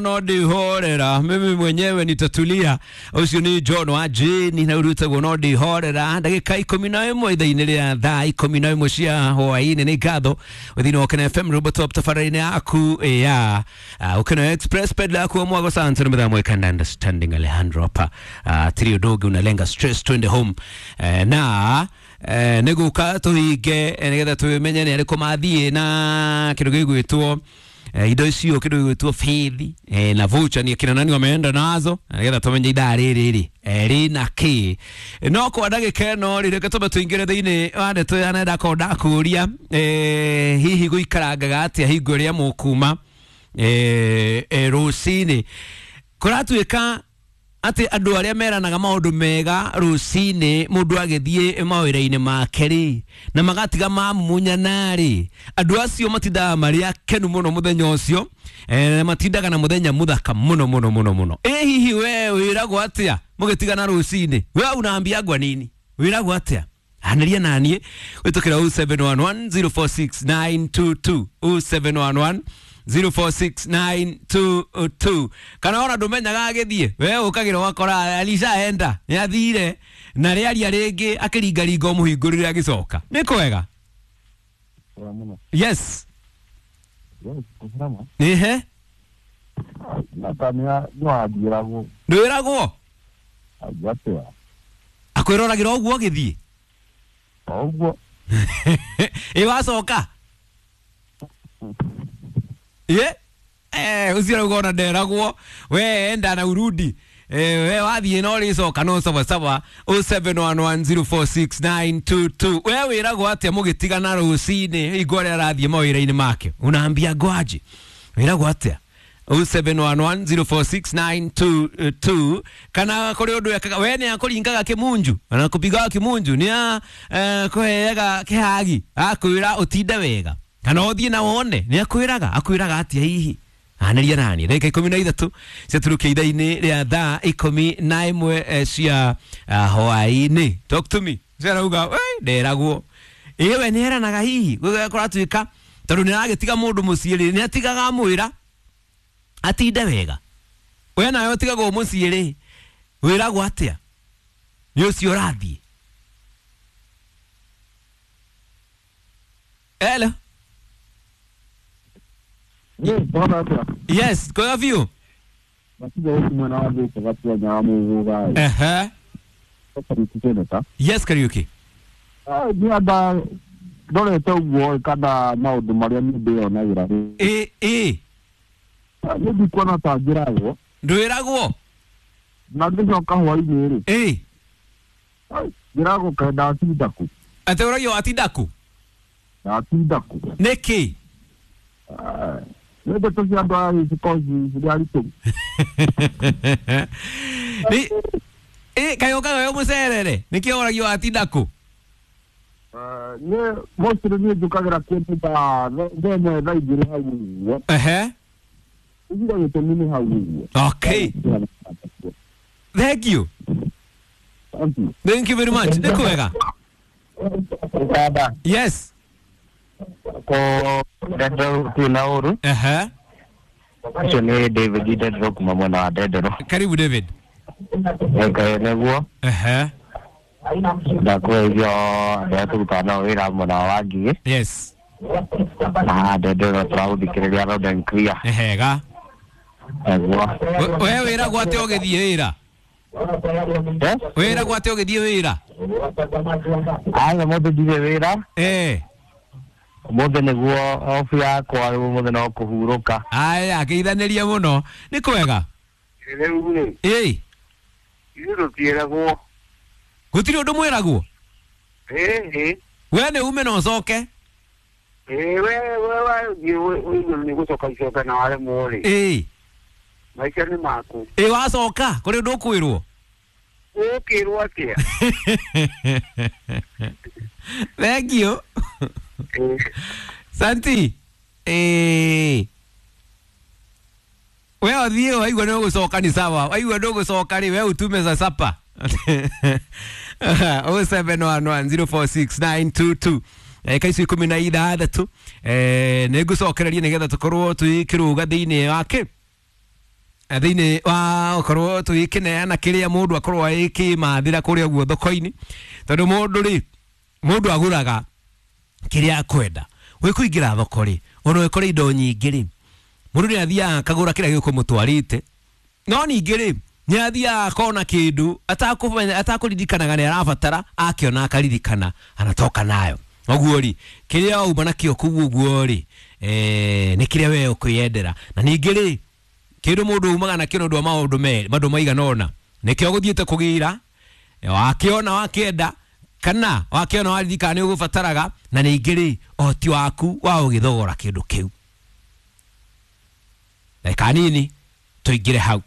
No ndihorera mimi mwenyewe nitatulia. Ucio ni John wa Jane na urutagwo no ndihorera. Ndagika 11 ithaa-inĩ rĩa thaa 11 cia hwaĩ-inĩ. Nĩ ngatho thĩinĩ wa Ũkena FM Robo Top tabarĩra-inĩ yaku ya Ũkena Express pedla yaku wa mwago sante na mwe kanda understanding Alejandro hapa trio dogi unalenga stress twende home na nĩgũka tũhinge nĩgetha tũmenye nĩ arĩkũ mathiĩ na kĩndũ gĩgwĩtwo indo icio kĩndũ gĩgwĩtwo bithi na voucher ni akina nani wameenda nazo nĩgetha tũmenye ithaa rĩrĩ rĩ rĩna kĩ. No kwa ndagĩka ĩno rĩ, reke tũmbe tũingĩre thĩinĩ wa ndeto ya nenda korwo ndakũria hihi gũikarangaga atĩa hingo ĩrĩa mũkuma rũcinĩ. Kũratuĩka atĩ andũ arĩa meranaga maũndũ mega rũcinĩ mũndũ agĩthiĩ mawĩra-inĩ make rĩ, na magatiga mamumunyana rĩ, andũ acio matindaga marĩ akenu mũno mũthenya ũcio, matindaga na mũthenya mũthaka mũno mũno mũno mũno. Ĩ hihi we wĩragwo atĩa mũgĩtigana rũcinĩ? We unaambiagwa nini? Wĩragwo atĩa? Anĩria naniĩ wĩtũkĩra 0711 046922 0711 046922. Kana ona ndũmenyaga agĩthiĩ, we ũkagĩra ũgakora alishaenda nĩathire na rĩaria rĩngĩ akĩringaringa ũmũhingũrĩre agĩcoka. Nĩ kwega? Yes. Ehe. Ndwĩragwo? Akwĩroragĩra ũguo agĩthiĩ? Ĩ wacoka? Ye? Ucio rauga ona nderagwo we enda na urudi we wathiĩ na ũrĩcoka no sawa sawa. 0711046922. We wĩragwo atĩa mũgĩtigana rũcinĩ hingo ĩrĩa arathiĩ mawĩra-inĩ make? Unaambia ngwaji wĩragwo atĩa? 0711046922. Kana kũrĩ ũndũ ekaga we nĩ akũringaga kĩmunju na kũpigaga kĩmunju nĩ kũheaga kĩhagi akwĩra ũtinde wega kana ũthiĩ na wone nĩ akwĩraga akwĩraga atĩa hihi? Anĩria nani ndagĩka 13 ciaturukia ithaa-inĩ rĩa thaa 11 cia hwaĩ-inĩ. Talk to me. Ciarauga we nderagwo. Ĩ we nĩ eranaga hihi kũratuĩka tondũ nĩ aragĩtiga mũndũ mũciĩ rĩ, nĩ atigaga amwĩra atinde wega. We nawe ũtigagwo mũciĩ rĩ, wĩragwo atĩa nĩ ũcio ũrathiĩ? Hello. Yes, kwa view. Yes, Kariuki. Ndwĩragwo? Atĩ ũragio watinda kũ? Nĩkĩ? Kaĩ ũkaga wĩ mũcerere nĩkĩo ũragio watinda kũ? Ehe. Okay. Thank you. Thank you very much. Nĩ kwega? Yes. Ehe. Ũcio nĩ David Ndendero kuma mwena wa Ndendero. Karibu David. Nĩguo. Ehe. Ndakũgeithio arĩa tũrutaga nao wĩra mwena wa Ngigĩ. Yes. Na Ndendero tũragũthikĩrĩria loud and clear. Nĩ hega. Nĩguo. We wĩragwo atĩa ũgĩthiĩ wĩra? Wĩragwo atĩa ũgĩthiĩ wĩra? Aca mũthĩ ndirĩ wĩra. Ũmũthĩ nĩguo obu yakwa rĩu ũmũthĩ no kũhurũka. Aya, geithanĩria mũno. Nĩ kwega? Rĩu rĩ. Ĩ. Ithuĩ tũtiĩragwo. Gũtirĩ ũndũ mwĩragwo? Ĩ. We nĩ ume na ũcoke? Ĩ, we wathiĩ ũigue nĩ gũcoka icoka na waremwo rĩ. Ĩ. Maica nĩ maku. Ĩ wacoka kũrĩ ũndũ ũkwĩrwo? Ũkĩrwo atĩa? Thank you. Santi. We ũthiĩ waigua nĩ ũgũcoka ni sawa. Waigua ndũgũcoka rĩ, we utume za sapa. 0711046922. Ndagĩka icio 16 nĩ ngũcokereria nĩgetha tũkorwo tũkĩrũga thĩinĩ wa kĩ Thĩinĩ wa ũkorwo tũgĩkĩneana kĩrĩa mũndũ akorwo agĩkĩmathĩra kũrĩa ũguo thoko-inĩ, tondũ mũndũ rĩ, mũndũ agũraga kĩrĩa akwenda. Wĩkũingĩra thoko rĩ, ona ũkore indo nyingĩ rĩ, mũndũ nĩ athiaga akagũra kĩrĩa gĩkũmũtwarĩte, no ningĩ rĩ, nĩ athiaga akona kĩndũ atakũmenya, atakũririkanaga nĩ arabatara, akĩona akaririkana anatoka nayo. Ũguo rĩ, kĩrĩa wauma nakĩo kũu ũguo rĩ, nĩ kĩrĩa we ũkwĩyendera. Na ningĩ rĩ, kĩndũ mũndũ umaga nakĩo nĩ ũndũ wa maũndũ merĩ, maũndũ maigana ũna, nĩkĩo ũgũthiĩte kũgĩra, wakĩona wakĩenda, kana wakĩona waririkana nĩ ũgũbataraga, na ningĩ rĩ, ũhoti waku wa gũgĩthogora kĩndũ kĩu. Ndagĩka nini tũingĩre hau.